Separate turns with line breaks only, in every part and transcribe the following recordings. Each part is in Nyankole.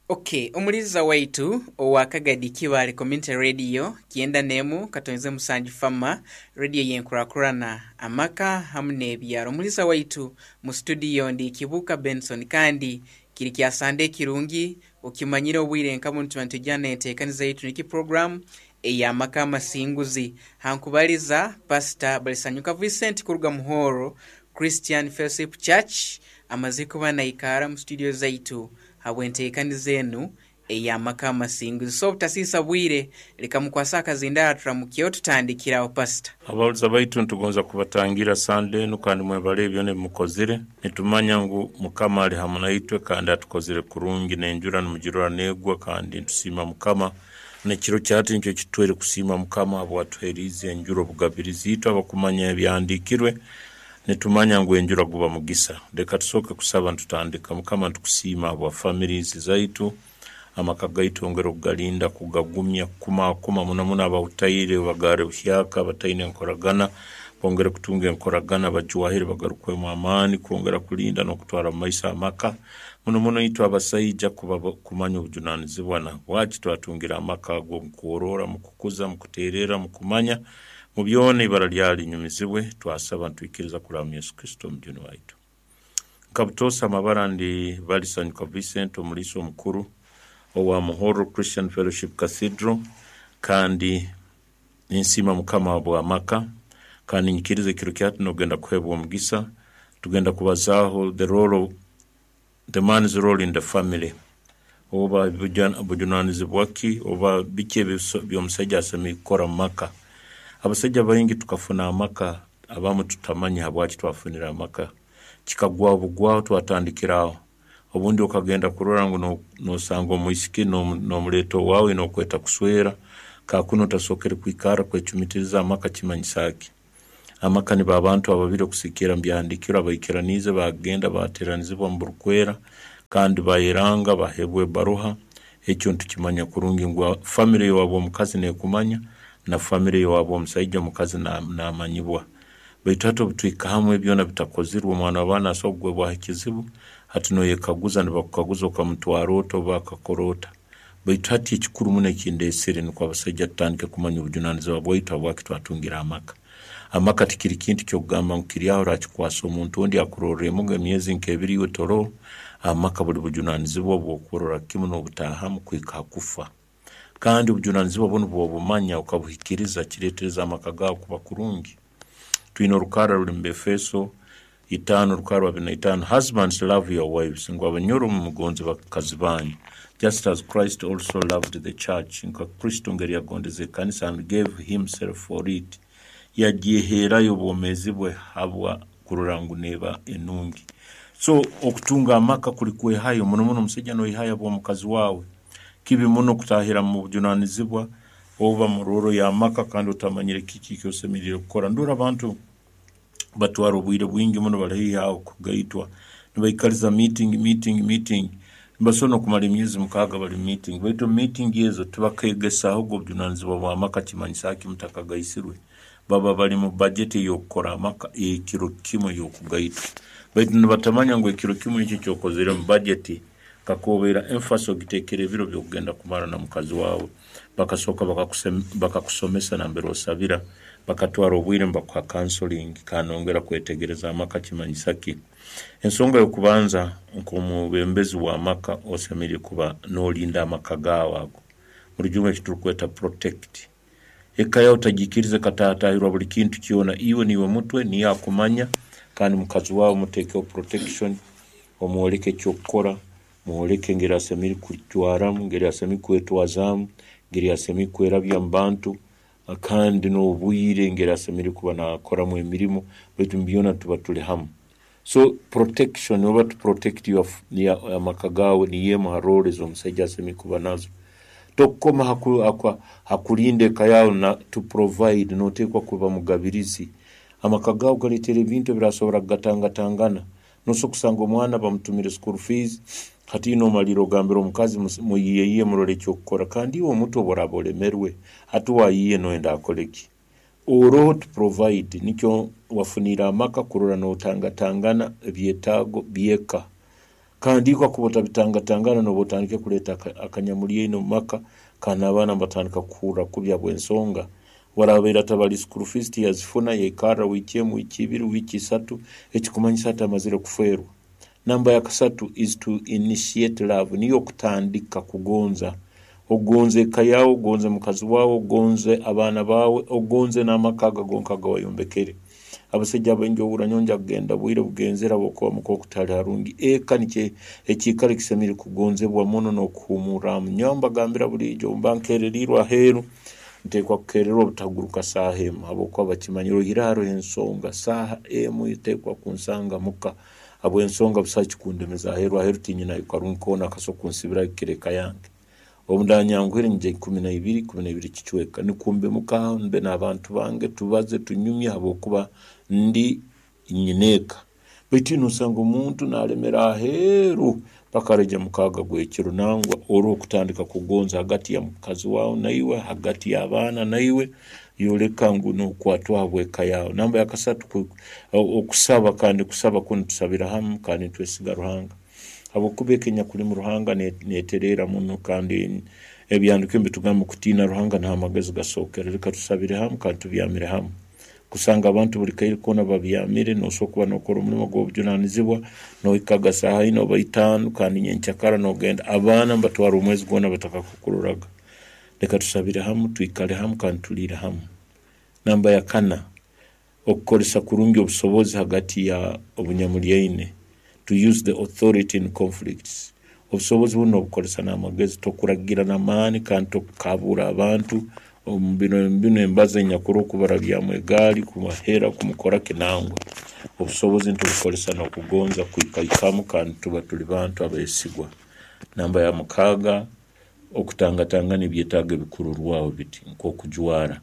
Ok, omuliza waitu owa Kagadi Kibaale Community Radio kyenda n'emu katonze musanju Fama Radio y'enkurakurana, amaka hamu n'ebyaro. Omuliza waitu mu studio ndi Kibuuka Benson kandi kiri kya Sande ekirungi okimanyire obwire nka bunu tuba nitwija n'enteekaniza yaitu niki program ey'amaka amasinguzi. Hankubaliza Pastor Balisanyuka Vincent kuruga Muhoro Christian Fellowship Church amazire kuba naikaara mu studio zaitu habw'enteekaniza enu ey'amaka amasinguzi. So obutasiisa bwire, leka mukwase akazindaaro turamukyeho tutandikire aho Pastor.
Abahuliza baitu nitugonza kubatangira Sande enu kandi mwebale byona ebimukozire. Nitumanya ngu Mukama ali hamu naitwe kandi atukozire kurungi n'enjura nimugirora negwa kandi nitusiima Mukama. N'ekiro kya hati nikyo kitutweire kusiima Mukama habwatuheriize enjura obugabirizi. Itwe abakumanya ebyahandiikirwe Nitumanya ngu enjura guba mugisa. Leka tusooke kusaba nitutandika. Mukama nitukusiima habwa families zaitu, amaka gaitu ongere okugalinda, kugagumya, kukumakuma muno muno abahutaire obagaare buhyaka abataine nkoragana bongere kutunga enkoragana, bajwahire bagarukwemu amaani kwongera kulinda n'okutwara mumaiso amaka. Muno muno itwe abasaija kuba kumanya obujunanizibwa na habwaki twatungire amaka ago mukworora, mukukuza, mukutererra, mukumanya. Mu byona eibara lyawe linyumizibwe, twasaba nitwikiriza kuraba mu Yesu Kristo Omujuni waitu. Nka butoosa amabara ndi Balisanyuka Vincent omuliisa omukuru owa Muhorro Christian Fellowship Cathedral kandi ninsiima Mukama habw'amaka kandi nyikiriza ekiro kya hati nogenda kuhebwa omugisa. Tugenda kubazaaho the role of The man's role in the family, oba bujunanizibwa ki oba biki eby'omusaija asemeriire kukora mu maka. Abasaija baingi tukafuna amaka abamu tutamanya habwaki twafunire amaka. Kikagwaho bugwaho twatandikira aho. Obundi okagenda kurora ngu nosanga omwisiki nomuleeta owaawe nokweta kuswera, kakunu otasookere kwikarra kwecumitiriza amaka kimanyisa ki? Amaka nibo abantu ababiri okusigikirra mu Byahandiikirwe abaikiraniize baagenda baateeranizibwa omu burukwera kandi baayeranga baheebwa ebbaruha. Ekyo nitukimanya kurungi ngu famire y'owabu omukazi neekumanya na famire y'owabu omusaija omukazi naamanyibwa. Baitu hati obu tuhika hamu ebi byona bitakozirwe, omwana w'abaana asobora kugwebwaho ekizibu, hati nooyekaguza nibakukaguza okamutwara ota oba akakora ota. Baitu hati ekikuru muno ekindeesere nukwo abasaija tutandike kumanya obujunanizibwa bwaitu habwaki twatungire amaka. Amaka tikiri kintu ky'okugamba ngu kiri aho orakikwasa omuntu ondi akurorremuga emyezi nk'ebiri iwe toroho. Amaka buli bujunanizibwa obw'okurora kimu n'obutaahamu kuhika ha kufa. Kandi obujunanizibwa bunu bw'obumanya okabuhikiriza kireetereza amaka gaawe kuba kurungi. Twine orukarra ruli mu Befeso itaano rukarra abiri na itaano, Husbands love your wives, ngu abanyoro mumugonze bakazi banyu, just as Christ also loved the church, nka Kristo ngeri yagondeze ekanisa and gave himself for it, yagyeheerayo obwomeezi bwe habwa kurora ngu neeba enungi. So okutunga amaka kuli kwehayo, muno muno omusaija noyehayo habw'omukazi waawe. Kibi muno kutahira mu bujunanizibwa oba mu rooro y'amaka kandi otamanyire kiki eki osemeriire kukora. Ndora abantu batwara obwire bwingi muno bali haihi aho kugaitwa nibaikaliza meeting, meeting, meeting. Nibasobora n'okumara emyezi mukaaga bali mu meeting baitu omu meeting ezo tibakaegesaahoga obujunanizibwa bw'amaka kimanyisa ki mutakagaisirwe. Baba bali mu bajeti ey'okukora amaka ey'ekiro kimu ey'okugaitwa. Baitu nibatamanya ngu ekiro kimu ekyo eky'okozere mu bajeti kakuba emphasis ogiteekere ebiro by'okugenda kumara na mukazi waawe. Bakasooka bakakusomesa nambere osabira, bakatwara obwire nibakuha counseling kandi nongera kwetegereza amaka kimanyisa ki. Ensonga y'okubanza nk'omwebembezi w'amaka osemeriire kuba nolinda amaka gaawe ago, mu rujungu eki turukweta protect. Eka yaawe otagiikiriza ekataataahirwa buli kintu kyona. Iwe niiwe mutwe, niiwe akumanya kandi mukazi waawe muteekeho protection, omwoleke eky'okukora, mwoleke engeri asemeriire kujwaramu, engeri asemeriire kwetwazaamu, engeri asemeriire kwerabya omu bantu kandi n'obwire engeri asemeriire kuba naakoramu emirimo baitu mu byona tuba tuli hamu. So protection oba to protect your amaka gaawe niyo emu ha role ez'omusaija asemeriire kuba nazo. Tokukoma ha kulinda eka yaawe na to provide, noteekwa kuba mugabirizi. Amaka gaawe galeetera ebintu ebirasobora kugatangatangana. Nosobora kusanga omwana bamutumire school fees, hati nomalirra ogambira omukazi muyiyeyiye murole eky'okukora kandi iwe omutwe obu oraaba olemerwe, hati wayiiye noyenda akole ki? Oroho to provide nikyo wafuniire amaka kurora notangatangana ebyetaago by'eka. Kandi iwe kakuba otabitangatangana nooba otandikire kuleeta akanyamuryaine omu maka kandi n'abaana nibatandika kukuhurra kubi habw'ensonga warabaire atabali school fees tiyazifuna yaikarra wiiki emu, wiiki ibiri, wiiki isatu ekikumanyisa hati amazire kufeerwa. Namba ya kasatu is to initiate love niyo okutandika kugonza. Ogonze eka yaawe, ogonze mukazi waawe, ogonze abaana baawe, ogonze n'amaka ago gonka agawayombekere. Abasaija abaingi ohurra nyowe ngya kugenda bwire bugenzere habwokuba muka oku tihali harungi. Eka nikyo ekiikaro ekisemeriire kugonzebwa muno n'okuhuumurramu. Nyowe mbagambira buriijo obu mba nkereriirwe aheeru, nteekwa kukererwa obutaguruka saaha emu habwokuba bakimanyire oihireho haroho ensonga saaha emu eteekwa kunsanga muka habw'ensonga busaho ekikundemeza aheeru. Aheeru tinyinayo karungi koona akasobora kunsibirayo kukira eka yange. Obu ndanyanguhire nyija ikuminaibiri, ikuminaibiri kicweka, nukwo mbe muka aho mbe n'abantu bange tubaze tunyumye habwokuba ndi nyineeka. Baitu nosanga omuntu nalemera aheeru paka araija mukaaga gw'ekiro. Nangwa oroho kutandika kugonza hagati ya mukazi waawe naiwe, hagati y'abaana naiwe, yoleka ngu nokwatwaho habw'eka yaawe. Namba yakasatu, okusaba kandi kusaba kunu tusabira hamu kandi nitwesiga Ruhanga. Habwokuba eka enyakulimu Ruhanga netereera muno kandi ebyahandiikirwe nibitugamba kutiina Ruhanga niho amagezi gasookera. Leka tusabire hamu kandi tubyamire hamu. Kusanga abantu buli kaire koona babyamire, nosobora kuba nokora omulimo gw'obujunanizibwa, nohikaga saaha ina oba itaano kandi nyenkyakara nogenda, abaana nibatwara omwezi gwona batakakukuroraga. Leka tusabire hamu, twikale hamu kandi tuliire hamu. Namba ya kana, Okukoresa kurungi obusobozi hagati ya obunyamuryaine, to use the authority in conflicts. Obusobozi bunu nobukoresa n'amagezi, tokuragira n'amaani kandi tokukabuura abantu omu bino binu embazo enyakuroho kubarabyamu egaali, kubahera, kumukora ki nangwa. Obusobozi nitubukoresa n'okugonza kwikaikamu kandi tuba tuli bantu abesigwa. Namba ya mukaaga, Okutangatangana ebyetaago ebikurorwaho biti nk'okujwara.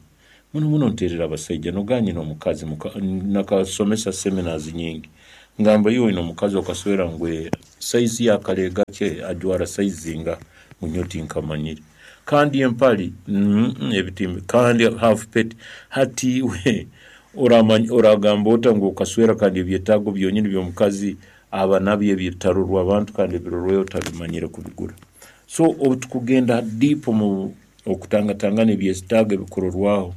Muno muno nteerera abasaija noga nyine omukazi nakasomesa seminars nyingi ngamba iwe oine omukazi okaswera ngu size ye akaleega kye ajwara size zingaha ngu nyowe tinkamanyire kandi empali ebitimba kandi half peti hati iwe oragamba ota ngu okaswera kandi ebyetaago byonyini by'omukazi aba nabyo ebitarorwa abantu kandi ebirorwayo otabimanyire kubigura. So obu tukugenda deep omu okutangatangana ebyetaago ebikurorwaho,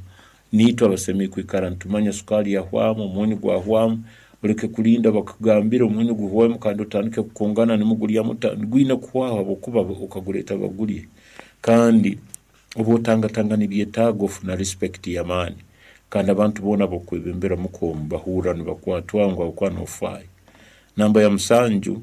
niitwe abasemeriire kwikara nitumanya sukaali yahwamu, omunyu gwahwamu, oleke kulinda bakugambire omunyu guhwemu kandi otandike kukungana nimugulya muta, gwine kuhwaho habwokuba okaguleeta bagulye. Kandi obu otangatangana ebyetaago ofuna respect y'amaani kandi abantu boona abokwebembera muka omu bahurra nibakwatwaho ngu habwokuba nofaayo. Namba ya musanju,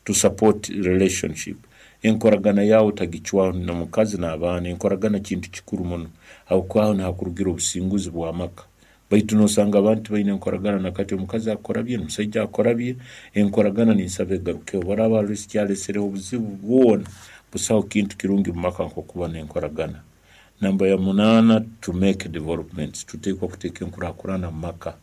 to support relationship, enkoragana yaawe otagicwaho n'omukazi n'abaana. Enkoragana kintu kikuru muno habwokuba aho niho hakurugira obusinguzi bw'amaka. Baitu nosanga abantu tibaine enkoragana na kati, omukazi akora bye n'omusaija akora bye, enkoragana ninsaba egarukeho. Obu haraaba haroho ekikyalesereho obuzibu bwona, busaho kintu kirungi omu maka nk'okuba n'enkoragana. Namba ya munaana, to make developments, tuteekwa kuteeka enkurakurana mu maka.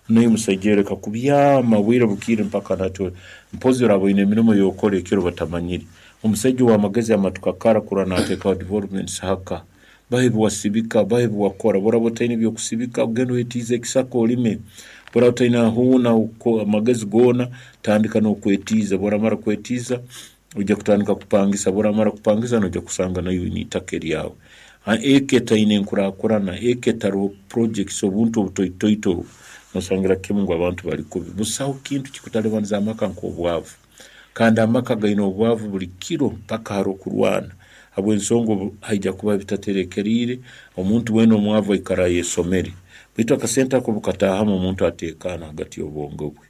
Naiwe musaija iwe leka kubyama bwire bukiire mpaka nati mpozi oraaba oine emirimo ey'okora ekiro batamanyire. Omusaija ow'amagezi amatuka kara kurora nateekaho developments haka. Bahe ebi wasibika, bahe ebi wakora. Obu oraaba otaine eby'okusibika, ogende oyetiize ekisaka olime. Obu oraaba otaine hoona amagezi goona, tandika n'okwetiiza. Obu oramara kwetiiza, Oija kutandika kupangisa, obu oramara kupangisa noija kusanga naiwe oine itaka eryawe. Eka etaine enkurakurana, eka etaroho projects, obuntu obutoitoito, nosangira kimu ngu abantu bali kubi. Busaho kintu kikutalibaniza amaka nk'obwavu. Kandi amaka gaine obwavu buli kiro mpaka haroho kurwana habw'ensonga obu haija kubaho ebitaterekeriire, omuntu weena omwavu aikara ayesomere. Baitu akasente ako obu kataahamu omuntu atekaana hagati y'obwongo bwe.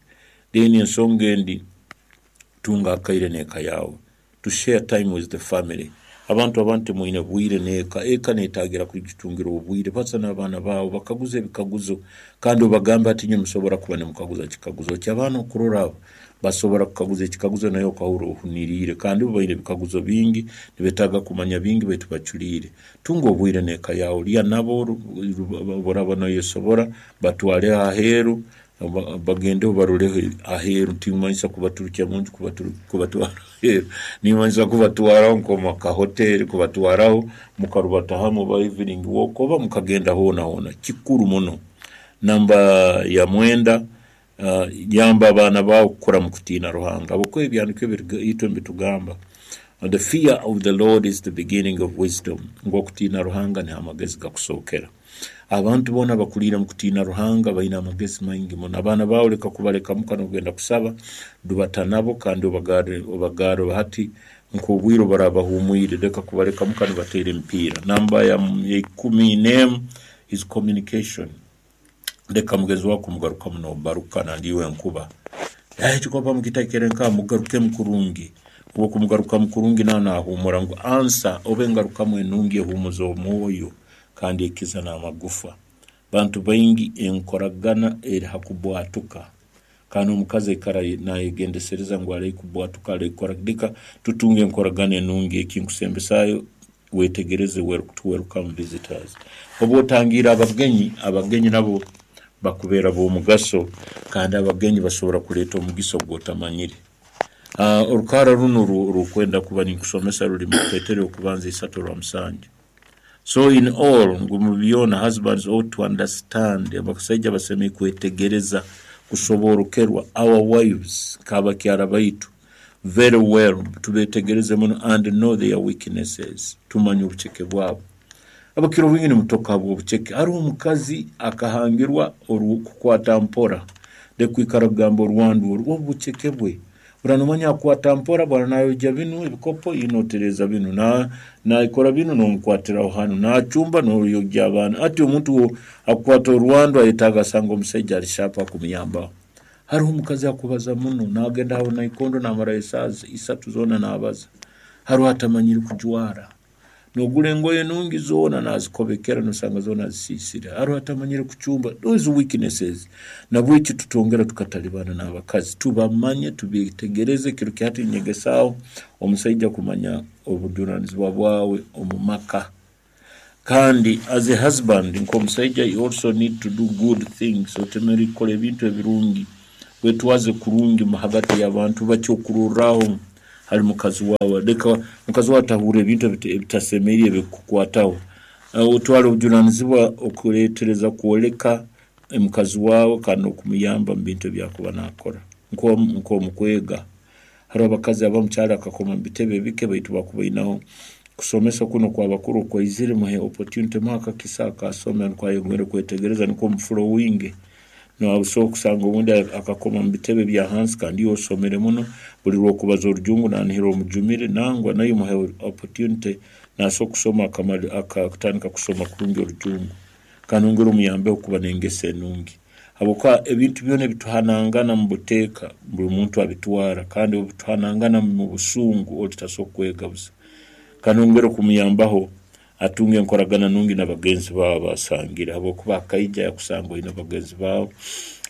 Then ensonga endi, Tunga akaire n'eka yaawe, To share time with the family. Abantu abandi timwine bwire n'eka. Eka neetaagira kugitungira obwire. Baza n'abaana baawe, bakaguze ebikaguzo kandi obagambe hati inywe musobora kuba nimukaguza kikaguzo ki? Abaana okurora abo basobora kukaguza ekikaguzo naiwe okahurra ohuniriire. Kandi bo baine ebikaguzo bingi, nibetaaga kumanya bingi baitu baculiire. Tunga obwire n'eka yaawe, lya nabo obu oraaba noyesobora, batwale aheeru. Bagendeho baroleho aheeru, timanyisa kubaturukya munju kubatwara aheeru, nimanyisa kubatwaraho nk'omu kahoteeri, kubatwaraho mukarubata hamu oba evening walk oba mukagenda hoona hoona, kikuru muno. Namba ya mwenda, Yamba abaana baawe kukura mu kutiina Ruhanga, ahabw'okuba ebyahandiikirwe byaitu nibitugamba, The fear of the Lord is the beginning of wisdom, ngu okutiina Ruhanga niho amagezi gakusookera. Abantu boona abakuriire omu kutiina Ruhanga baine amagezi maingi muno. Abaana baawe leka kubaleka muka n'ogenda kusaba, dubata nabo kandi obagarre obagarre hati nk'obwire obu baraaba bahuumwire, leka kubaleka muka nibateera emipiira. Namba ya 11 is communication. Leka mugenzi waawe kumugarukamu noobaruka nandi iwe enkuba. Ekikopo mukitekere nkaha mugarukemu kurungi. Obu okumugarukamu kurungi nawe naahuumura ngu ansa oba engarukamu enungi ehuumuza omwoyo kandi ekiza n'amagufa. Bantu baingi enkoragana eri ha kubwatuka kandi omukazi aikara naayegendesereza ngu arehe kubwatuka arehe kukora ki. Leka tutunge enkoragana enungi ekinkusembesaayo Wetegereze to welcome visitors. Obu otangiire abagenyi, abagenyi nabo bakubeera b'omugaso kandi abagenyi basobora kuleeta omugisa ogw'otamanyire. Orukarra runu orukwenda kuba ninkusomesa ruli mu Petero y'okubanza isatu orwa musanju. So in all, ngu mu byona husbands ought to understand, abasaija basemeriire kwetegereza, kusoboorokerwa our wives nk'abakyara baitu very well, tubetegereze muno and know their weaknesses, tumanye obuceke bwabo. Abakira obwingi nimutoka habw'obuceke. Haroho omukazi akahangirwa kukwata mpora, leka kwikara kugamba orwandu oru, obu buceke bwe. Bura nomanya akwata mpora, bwara nayogya binu ebikopo, iwe notereeza binu, nakora binu nomukwatiraho hanu, nacumba noyogya abaana. Hati omuntu akukwata orwandu ayetaaga asange omusaija ali sharp akumuyambaho. Haroho omukazi akubaza muno, nagenda ha naikondo namarayo esaaha isatu zoona nabaza. Haroho atamanyire kujwara. Nogura engoye nungi zoona nazikobekera nosanga zoona azisiisire. Haroho atamanyire kucumba. Those weaknesses. Nabweki tutwongera tukatalibana n'abakazi. Tubamanye, tubetegereze. Kiro kya hati ninyegesaaho omusaija kumanya obujunanizibwa bwawe omu maka. Kandi as a husband nk'omusaija you also need to do good things, otemereire kukora ebintu ebirungi, wetwaze kurungi hagati y'abantu bakyokurorraho hali mukazi waawe. Leka mukazi waawe atahurra ebintu ebitasemeriire ebikukwataho. Otwale obujunanizibwa okuleetereza kwoleka mukazi waawe kandi n'okumuyamba mu bintu ebi akuba naakora nk'omu kwega. Haroho abakazi abamu kyali akakoma mu bitebe bike baitu bakubainaho kusomesa kunu okwabakuru okwaizire muhe opportunity muhe akakisa akasome nukwo ayongere kwetegereza nukwo omuflowinge. Nosobora kusanga obundi akakoma mu bitebe bya hansi kandi iwe osomere muno buli rwokubaza orujungu nanihira omujumire nangwa naiwe muhe opportunity nasobora kusoma akatandika kusoma kurungi orujungu. Kandi ongere omuyambeho kuba n'engeso enungi. Habwokuba ebintu byona ebituhanangana omu buteeka buli muntu abitwara kandi obu tuhanangana omu busungu ori tasobora kwega busa. Kandi ongere kumuyambaho atunge enkoragana nungi na bagenzi baawe abasangire habwokuba akaija yakusanga oine bagenzi baawe,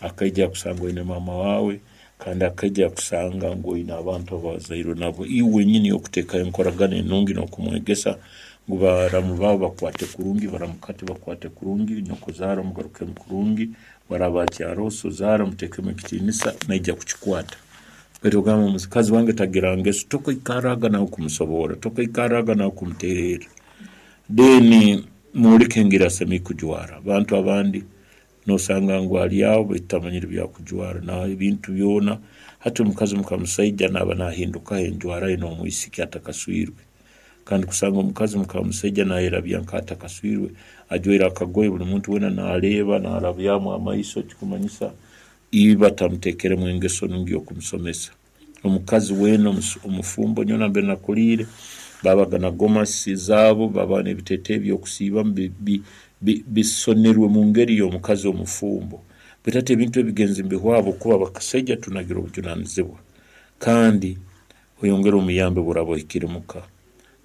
akaija yakusanga oine maama waawe, kandi akaija yakusanga ngu oine abantu abawazairwe nabo. Iwe wenyini okuteekaho enkoragana enungi n'okumwegesa ngu baramu baawe bakwate kurungi, baramukati bakwate kurungi, nyokozaara omugarukemu kurungi, bwaraaba akyaroho sozaara omuteekemu ekitiinisa, naija kukikwata. Baitu ogamba omukazi wange tagira ngeso, tokaikarraga nawe kumusoborra, tokaikarraga nawe kumuteererra. Then mwoleke engeri asemeriire kujwara. Abantu abandi Nosanga ngu ali aho baitu tamanyire byakujwara na ebintu byona. Hati omukazi muka musaija naba nahindukaho enjwara ye nomwisiki atakaswirwe. Kandi kusanga omukazi muka musaija nayerabya nka atakaswirwe ajwaire akagoye buli muntu wena naleeba narabyamu amaiso ekikumanyisa iba tamutekeremu engeso nungi yokumusomesa. Omukazi weena omufumbo nyowe nambere nakuliire babaga na gomasi zaabo, babaga n'ebiteeteeyi by'okusiibamu bisonerwe mu ngeri y'omukazi omufumbo. Baitu hati ebintu ebi bigenze nibihwaho habwokuba abakasaija tunagire obujunanizibwa kandi oyongere omuyambe obu oraaba ohikire muka.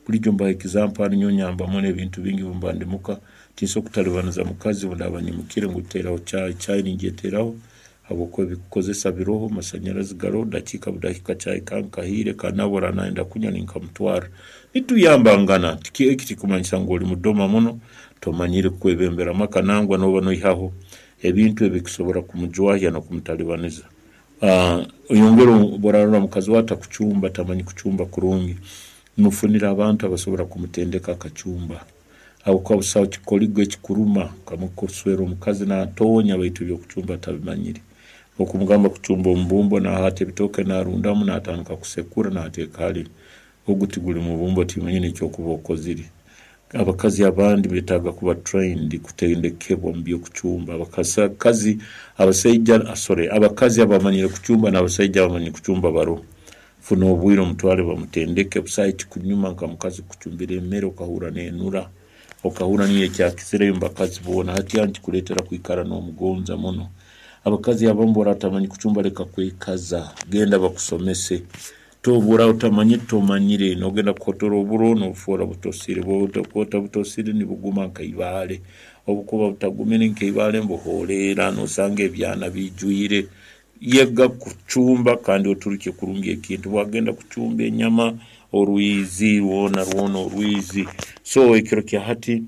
Bulijo mbaha example hanu nyowe nyamba muno ebintu bingi obu mba ndi muka, tinsobola kutalibaniza mukazi obu ndaaba nyimukire ngu teraho chai, chai ningyeteraho habwokuba ebikukozesa biroho, amasanyarazi garoho, dakiika budakiika chai kange kahiire kandi nawe obu araaba nayenda kunywa ninkamutwarra. Nituyambangana, eki tikikumanyisa ngu oli mudoma muno, tomanyire kwebembera amaka nangwa nooba noihaho ebintu ebikusobora kumujwahya n'okumutalibaniza. Oyongere obu orarora mukazi waawe atakucumba, tamanyi kucumba kurungi, mufunire abantu abasobora kumutendeka akacumba. Habwokuba busaho kikoligo ekikuruma nka kuswera omukazi naatoonya baitu eby'okucumba atabimanyire. Okumugamba kucumba omubumbo nahaata ebitooke narundamu natandika kusekura nateeka hali ogu tiguli mubumbo timanyine ekyokuba okozire. Abakazi abandi betaaga kuba trained kutendekebwa omu by'okucumba. Abakazi abasaija sorry abakazi abamanyire kucumba n'abasaija abamanyire kucumba baroho. Funa obwire omutware bamutendeke busaho ekikunyuma nka mukazi kukucumbira emere okahurra nenura okahurra niyo ekyakizireyo omu bakazi boona. Hati aho nikikuleetera kwikara nomugonza muno. Abakazi abamu bworaba otamanyire kucumba leka kwekaza genda bakusomese. Tobura otamanyire tomanyire nogenda kuhotora oburo nobufoora butosire bwokuba butosire nibuguma nka ibaale obukuba butagumire nka ibaale nibuhoreera nosanga ebyana biijwire. Yega kucumba kandi oturukye kurungi ekintu bwagenda kucumba enyama orwizi rwona rwona orwizi. So ekiro kya hati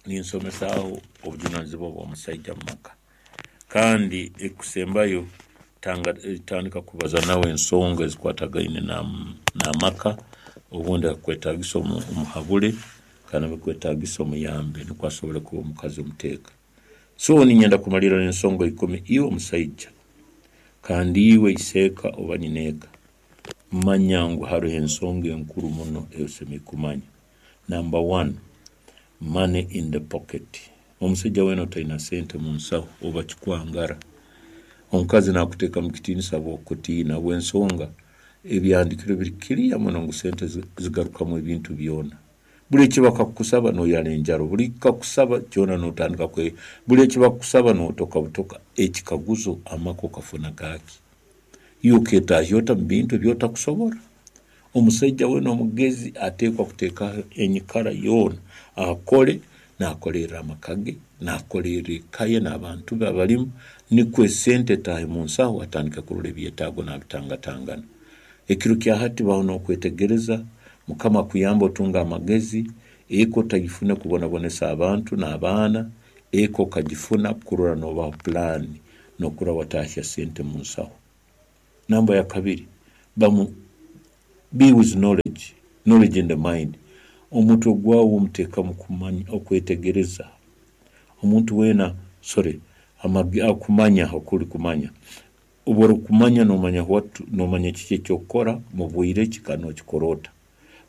ninsomesaaho obujunanizibwa bw'omusaija omu maka kandi ekikusembayo tandika kubaza nawe ensonga ezikwatagaine n'amaka obundi akakwetagisa omuhabule kandi abikwetagisa omuyambe nukwo asobole kuba omukazi omuteeka. So niinyenda kumalirra n'ensonga ikumi iwe omusaija kandi iwe iseeka oba nyineeka manya ngu haroho ensonga enkuru muno ei osemeriire kumanya. Number one, money in the pocket. Omusaija weena otaina sente mu nsaho oba kikwangara. Omukazi nakuteeka mu kitiinisa habw'okukutiina habw'ensonga ebyahandiikirwe biri clear muno ngu sente zigarukamu ebintu byona. Buli eki bakakukusaba noyara enjaro, buli kakusaba kyona notandika kwe, buli eki bakukusaba notoka butoka. Ekikaguzo amaka okafuna gaki? Iwe oketahya ota mu bintu ebi otakusobora? Omusaija weena omugezi ateekwa kuteekaho enyikara yoona akole, naakolerra amaka ge, naakolerra eka ye n'abantu be abalimu, nikwo esente etaahe mu nsaho atandike kurora ebyetaago naabitangatangana. Ekiro kya hati baho n'okwetegereza, Mukama akuyambe otunge amagezi, eka otagifune kubonabonesa abantu n'abaana, eka okagifuna kurora noobaho pulaani n'okurora wataahya sente mu nsaho. Namba ya kabiri, bamu be with knowledge, knowledge in the mind. Omutwe gwawe omuteekamu kumanya, okwetegereza. Omuntu weena, sorry, okumanya okuri kumanya. Obu orikumanya noomanya what, noomanya kiki eky'okukora, mu bwire ki kandi nookikora ota.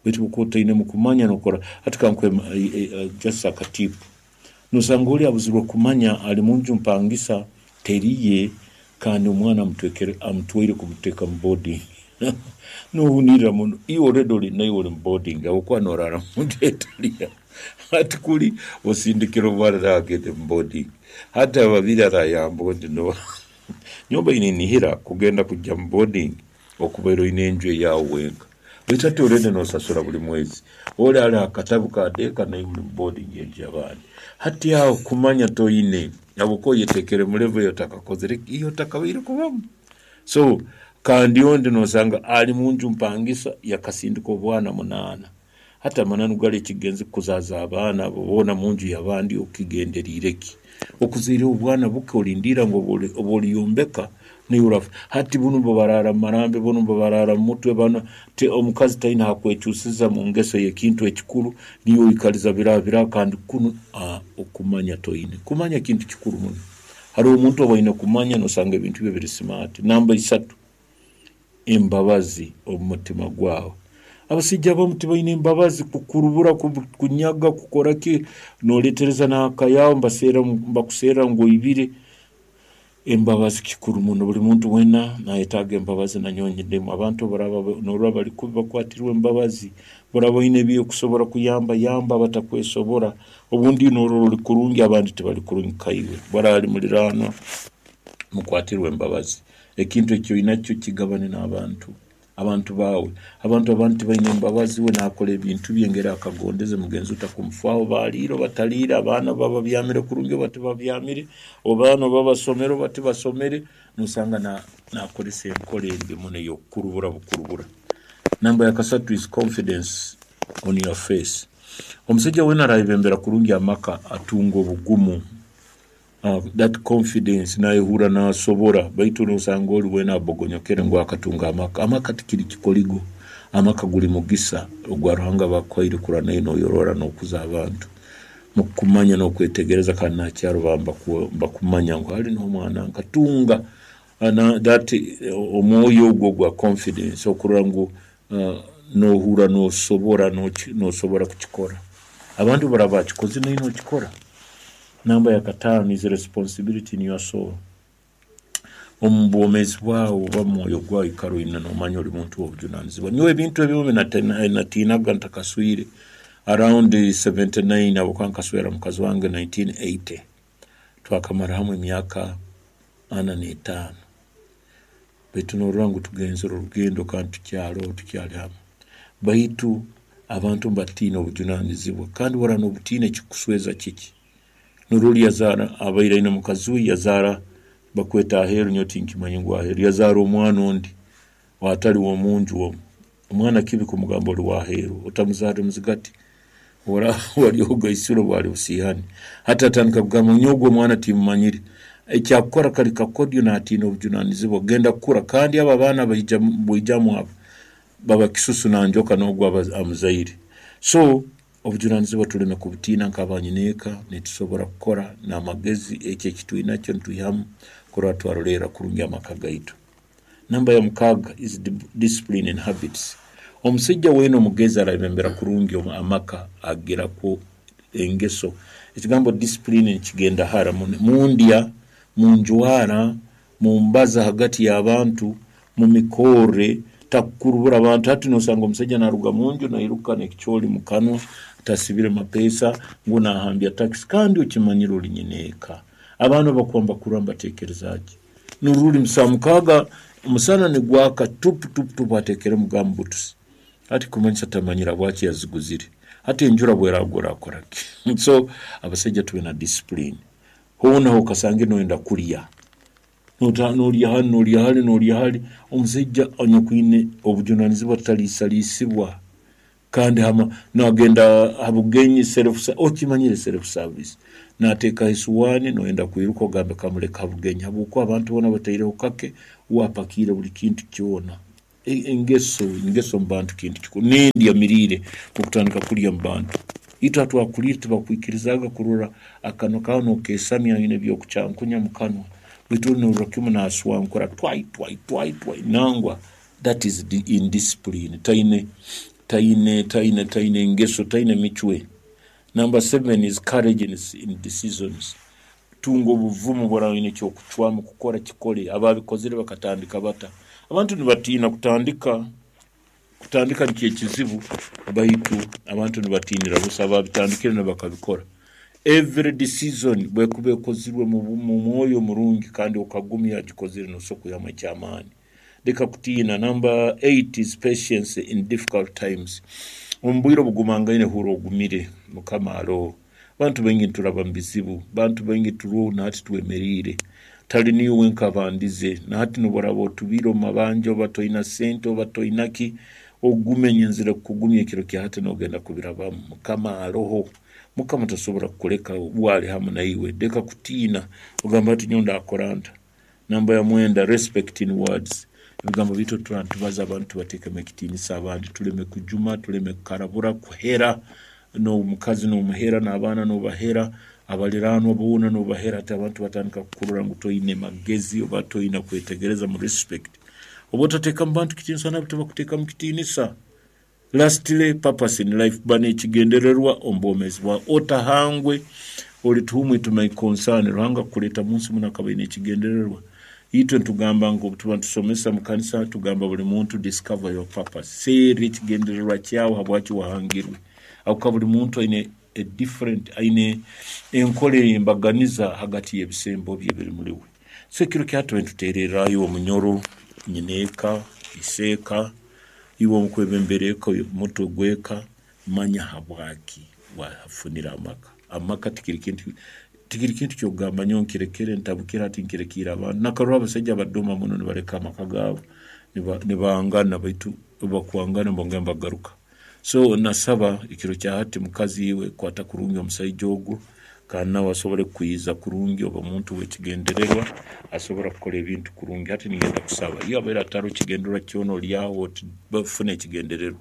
Beitu obu okuba otainemu kumanya nookora, hati ka nkuhe just aka tip. Noosanga ori abuzirwe kumanya ari munju mpangisa teri ye kandi omwana amutwekere amutwaire kumuteeka mu boarding. Noohunirira muno, iwe already ori naiwe ori mu boarding ahabw'okuba nooraara munju etari yaawe. Hati kuri osindikire omwana nawe agende mu boarding. Hati ababiri araayamba ondi n'oha? Nyowe mbaire ninihira kugenda kugya mu boarding okubaire oine enju eyaawe wenka. Baitu hati already nosasura buri mwezi. Ori ari aha katabu ka deeka naiwe ori mu boarding y'enju y'abandi. Hati aho kumanya toine ahabw'okuba oyeteekere mu level ei otakakozire ki, ei otakabaire kubamu. So kandi ondi nosanga ari munju mpangisa yakasindika obwana munaana. Hati amananu gari ekigenzi kukuzaaza abaana abo boona munju y'abandi okigenderiire ki? Okuzaire obwana buke olindiira ngu obu oriyombeka naiwe orafa. Hati bunu nibabaraara mu marambi, bunu nibabaraara mu mutwe, banu ti omukazi taine hakwekyusiza mu ngeso y'ekintu ekikuru, niiwe oikaliza biraha biraha kandi kunu okumanya toine. Kumanya kintu kikuru muno. Haroho omuntu obu aine kumanya nosanga ebintu bye biri simaati. Namba isatu. embabazi omu mutima gwawe. Abasaija abamu tibaine mbabazi kukurubura, kukunyaga, kukora ki, noretereza n'aka yaawe nibakuserra ngu oibire. Embabazi kikuru muno, buri muntu weena nayetaaga embabazi nanyowe nyinemu. Abantu obu baraaba norora bari kubi bakwatirwe embabazi, obu oraaba oine ebi orikusobora kuyamba, yamba abatakwesobora. Obundi norora ori kurungi abandi tibari kurungi nkaiwe. Obu araaba ari muriraanwa mukwatirwe embabazi. Ekintu eki oinakyo kigabane n'abantu, abantu baawe. Abantu abandi tibaine mbabazi, we naakora ebintu bye engeri akagondeze, mugenzi we takumufaaho, baaliire oba taliire, abaana oba babyamire kurungi oba tibabyamire, abaana oba basomere oba tibasomere, nosanga naakoresa enkora embi muno ey'okukurubura bukurubura. Namba ya kasatu is confidence on your face. Omusaija weena araayebembera kurungi amaka atunga obugumu. That confidence nayehurra nasobora baitu nosanga ori weena abogonyokere ngu akatunga amaka. Amaka tikiri kikorigo, amaka guri mugisa ogwa Ruhanga aba akuhaire kurora naiwe noyorora nokuza abantu mukukumanya nokwetegereza kandi nakyaro bakumanya ngu hali noho omwana nkatunga. That omwoyo ogwo ogwa confidence okurora ngu nohurra nosobora nosobora kukikora. Abandi obu baraaba bakikozire naiwe nokikora. Namba ya kataano is responsibility in your soul. Omu bwomeezi bwawe oba omu mwoyo gwawe ikara oine nomanya ori muntu w'obujunanizibwa. Nyowe ebintu ebimu ebinatiinaga ntakaswire around 79 habwokuba nkaswera mukazi wange 1980 twakamara hamu emyaka ana n'etaano. Baitu norora ngu tugenzere orugendo kandi tukyaroho tukyali hamu. Baitu abantu nibatiina obujunanizibwa kandi obu oraaba nobutiina ekikukusweza kiki? Norora yazaara abaire aine mukazi we yazaara bakweta aheeru nyowe tinkimanya ngu aheeru yazaara omwana ondi atali w'omunju omu. Omwana kibi kumugamba ori w'aheeru otamuzaarire muzigati oraaba wari ogaisire bwari busiihani. Hati atandika kugamba ngu nyowe ogu omwana timmumanyire. Ekyakukora kari kakodyo naatiina obujunanizibwa kugenda kukura kandi abo abaana abaija baijamu abo baba kisusu na njoka n'ogu amuzaire. So obujunanizibwa tuleme kubutiina nk'abanyineeka nitusobora kukora n'amagezi eki eki twinakyo nitwihamu kurora twarolerra kurungi amaka gaitu. Namba ya mukaaga is discipline and habits. Omusaija weena omugezi arayebembera kurungi amaka agirakwo engeso. Ekigambo discipline nikigenda hara muno. Mundya, munjwara, mumbaza hagati y'abantu, mumikorre, takukurubura abantu. Hati nosanga omusaija naruga munju nairuka n'ekicoori mukanwa, tasibire mapeesa, ngu nahambya takisi kandi okimanyire ori nyineeka. Abaana obu bakuba nibakurora nibatekereza ki? Norora ori saaha mukaaga omusana nigwaka tupu tupu tupu ateekeremu gumuboots. Hati kumanyisa tamanyire habwaki yaziguzire. Hati enjura obu eragwa orakora ki? So abasaija tube na discipline. Hoona hokasangire noyenda kurya, norya hanu norya hari norya hari, omusaija anyakwine obujunanizibwa taliisaliisibwa. Kandi hama nagenda ha bugenyi self okimanyire self service nateekaho esuwaani noyenda kwiruka ogambe kamuleke ha bugenyi habwokuba abantu boona bataireho kake uwe apakiire buli kintu kyona. Engeso engeso omu bantu kintu kikuru nendya miriire okutandika kurya omu bantu. Itwe ahatwakuliire tibakwikirizaaga kurora akanwa kaawe nokeesamya oine eby'okucankunya mu kanwa baitu ori norora kimu naswankura twai twai twai twai nangwa That is indiscipline, taine taine taine taine ngeso, taine micwe. Number seven is courage in, in decisions. Tunga obuvumu bworaba oine ekyokucwamu kukora kikole. Ababikozire bakatandika bata? Abantu nibatiina kutandika, kutandika nikyo ekizibu baitu abantu nibatiinira busa ababitandikire nibakabikora. Every decision bwekuba ekozirwe mu mwoyo murungi kandi okagumya agikozire nosobola kwihamu ekyamaani. Leka kutiina. Number 8 is patience in difficult times. Omu bwire obugumangaine hurra ogumire. Mukama aroho. Bantu baingi nituraba mu bizibu. Bantu baingi turoho na hati twemeriire. Tali niiwe wenka abandize. Na hati nobu oraba otubiire omu mabanja oba toina sente oba toina ki, ogume nyenzire kukugumya ekiro kya hati nogenda kubirabamu. Mukama aroho. Mukama tasobora kukuleka uwe ali hamu naiwe. Leka kutiina. Ogambe ati nyowe ndakora nta? Namba ya mwenda, respect in words. Ebigambo byaitu obu turaba nitubaza abantu tubateekemu ekitiinisa abandi tuleme kujuma, tuleme kukarabura, kuhera, n'omukazi n'omuhera, n'abaana n'obahera, abaliraanwa boona n'obahera hati abantu batandika kukurora ngu toine magezi oba toine kwetegereza mu respect. Obu otateekamu bantu kitiinisa nabo tibakuteekamu kitiinisa. Lastly, purpose in life, ba n'ekigendererwa omu bwomeezi bwawe. Otahangwe ori to whom it may concern. Ruhanga kukureeta mu nsi munu akaba aine ekigendererwa. Itwe nitugamba ngu obu tuba nitusomesa mu kanisa, tugamba buri muntu discover your purpose. Serra ekigendererwa kyawe habwaki wahangirwe. Ahabw'okuba buri muntu aine a different, aine enkora ey'embaganiza hagati y'ebisembo bye ebiri muri we. So ekiro kya hati tube nituteererra iwe omunyoro, nyineeka, iseeka, Iwe omukwebembera eka, omutwe gw'eka, manya habwaki wafunire amaka. Amaka tikiri kintu tikiri kintu ky'okugamba nyowe nkirekere ntabukire hati nkirekiire abandi. Nakarora abasaija abadoma muno nibaleka amaka gaabo nibangana baitu obu bakwangana nibongera nibagaruka. So nasaba ekiro kya hati mukazi iwe kwata kurungi omusaija ogu kandi nawe asobole kukwiza kurungi obe muntu w'ekigendererwa asobora kukora ebintu kurungi. Hati ningenda kusaba, iwe abaire ataroho kigendererwa kyona ori aho oti funa ekigendererwa.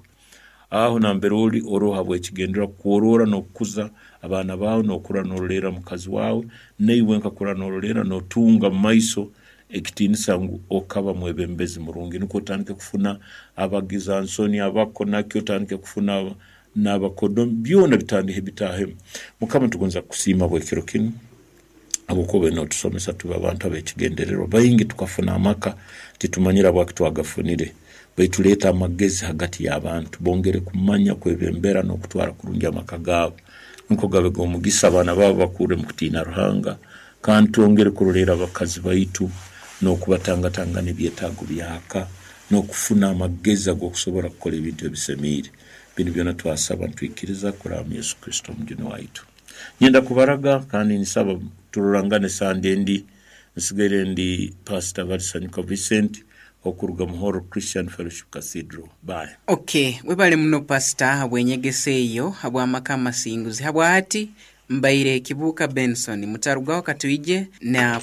Aho nambere ori oroho habw'ekigendererwa kworora n'okukuza abaana baawe n'okura n'orolerra mukazi waawe, naiwe wenka kura n'orolerra n'otunga mu maiso. Ekitiinisa ngu okaba mwebembezi murungi, nukwo otandike kufuna abagizansoni, abakonaki, otandike kufuna n'abakodomi, byona bitandike bitahemu. Mukama nitugonza kukusiima habw'ekiro kinu, habwokuba obaire notusomesa tube abantu ab'ekigendererwa. Baingi tukafuna amaka titumanyire habwaki twagafunire, baitu leeta amagezi hagati y'abantu bongere kumanya kwebembera n'okutwara kurungi amaka gaabo, nukwo gabe g'omugisa abaana baabo bakurre mu kutiina Ruhanga. Kandi twongere kuroleera abakazi baitu n'okubatangatangana ebyetaago by'aka n'okufuna amagezi ag'okusobora kukora ebintu ebisemiire. Binu byona twasaba nitwikiriza kuraba mu Yesu Kristo Omujuni waitu. Nyenda kubaraga kandi nsaba turorangane Sande endi. Nsigaire ndi Pastor Balisanyuka Vincent okuruga mu Horo Christian Fellowship Cathedral. Bye.
Ok, webale muno Pastor habw'enyegesa eyo habw'amaka amasinguzi. Habwahati Mbaire Kibuuka Benson. Mutarugaho katwije na.